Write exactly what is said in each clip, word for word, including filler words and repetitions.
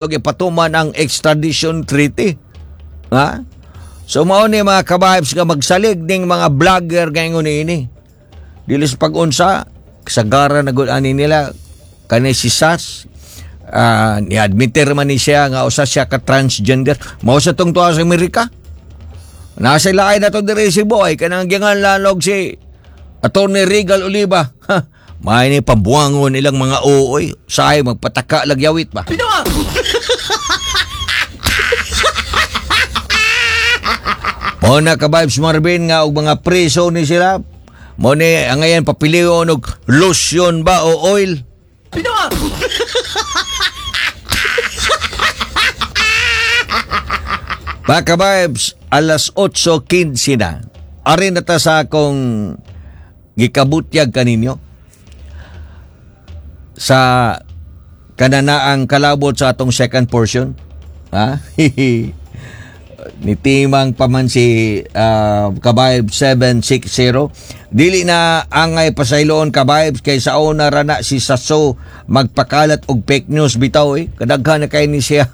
Ipatuman ang extradition treaty. Ha? So mao ni, mga kabibes, nga magsalig ning mga vlogger ngayon ini. Dili sa pag-unsa, kasagara na gud ani nila kani si Sas. Uh, ni-admitter man ni siya nga usa siya ka transgender. Mao sa tong tuwa sa Amerika. Nasa lain na to diri si Boy kanang gingan lalog si Attorney Regal Oliva. Ha, may ni pambuangon ilang mga ooy. Sahay magpataka lagyawit ba? Mo na, ka-vibes Marvin, nga og mga preso ni sila. Mo ni ang ngayon papilion og lotion ba o oil. Mga ka-vibes, alas otso kinse na. Ari na ta sa akong gikabutyag kaninyo sa kananaang kalabot sa atong second portion. Ha? Nitimang pa man si uh, Kabayb seven six zero. Dili na angay pasayloon, Kabayb, kay sa una ra na si Sasso magpakalat og fake news bitaw eh. Kadaghan na kay ni siya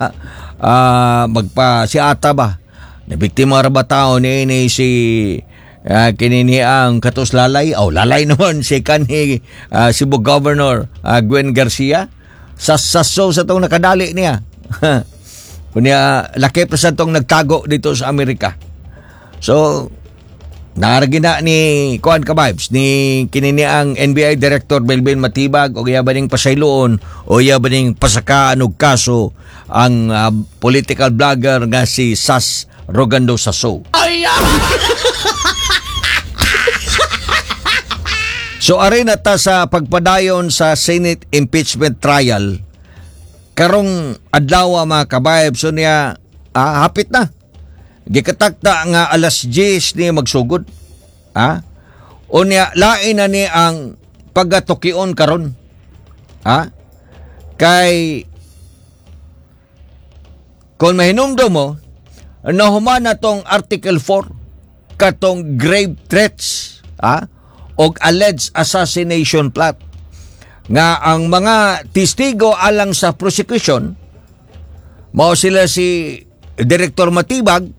uh, magpa si ata ba. Nabiktima ra ba tao ni ni si uh, kinini ang katos lalay? Oh, lalay naman si kanhi uh, Cebu Governor uh, Gwen Garcia. Sa Sasso sa tong nakadali niya. Kunya laki pa sa tong nagtago dito sa Amerika. So naaragi na ni kuan, ka vibes, ni kinini ang N B I Director Melvin Matibag og iya ba ning pasayloon o iya ba ning pasakaan og kaso ang uh, political vlogger nga si Sas Rogando Sasso. So ari na ta sa pagpadayon sa Senate impeachment trial karong adlaw, mga kabayab. So niya ah, hapit na. Gikatakta nga alas diyes ni magsugod. Ah? Unya lain na ni ang pagatukion karon. Ah? Kay kung mahinumdum mo, nahuman na tong Article four katong grave threats, ah, og alleged assassination plot nga ang mga testigo alang sa prosecution mao sila si Director Matibag,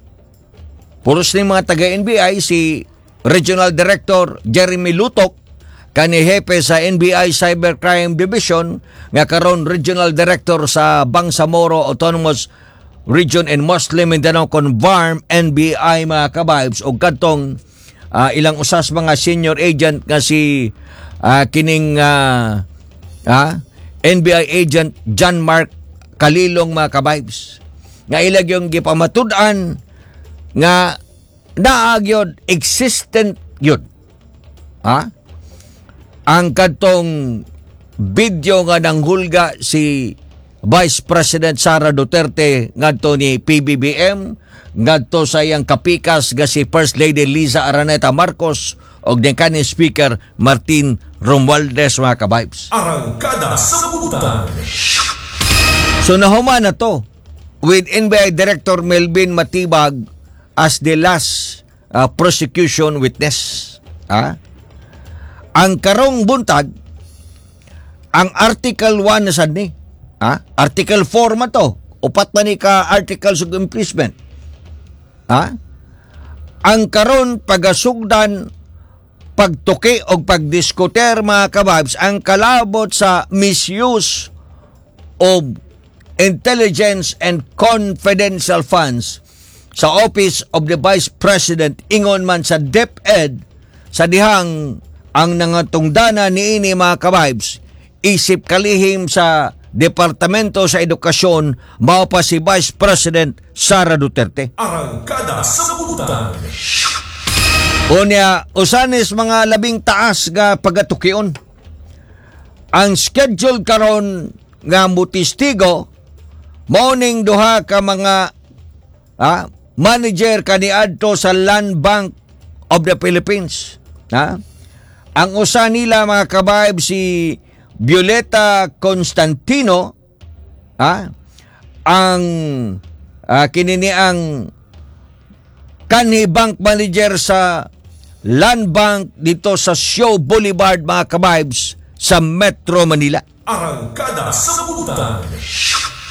puros ni mga taga-N B I, si Regional Director Jeremy Lutok, kani hepe sa N B I Cybercrime Division nga karon Regional Director sa Bangsamoro Autonomous Region and Muslim Mindanao kon B A R M N B I, mga kabibes, og kadtong uh, ilang usas mga senior agent nga si uh, kining uh, ah, N B I agent John Mark Kalilong, mga kabibes, nga ilag yung gipamatud-an nga naa gyud, existent yun, ha, ang kadtong video nga nanghulga si Vice President Sara Duterte ngadto ni P B B M, ngadto sa iyang kapikas nga si First Lady Liza Araneta Marcos og ni kaning Speaker Martin Romualdez, mga kabibes. Arangkada sa Butan. So nahuman na to with N B I Director Melvin Matibag as the last uh, prosecution witness. Ah? Ang karong buntag, ang Article one na sad ni. Ah? Article four man to. Upat man ni ka articles of impeachment. Ah? Ang karon pagasugdan pagtuki o pagdiskuter, mga kababs, ang kalabot sa misuse of intelligence and confidential funds sa Office of the Vice President, ingon man sa DepEd, sa dihang ang nangatungdana niini, mga kabibes, isip kalihim sa Departamento sa Edukasyon, mao pa si Vice President Sara Duterte. Arangkada sa Butan. Unya, usanis mga labing taas nga pagatukion. Ang schedule karon nga mutistigo mao ning duha ka mga ah, manager kaniadto sa Land Bank of the Philippines. Ha? Ang usa nila, mga kabayb, si Violeta Constantino, ha? Ang ah, kinini ang kanhi bank manager sa Land Bank dito sa Shaw Boulevard, mga kabibes, sa Metro Manila. Arangkada sa Butan.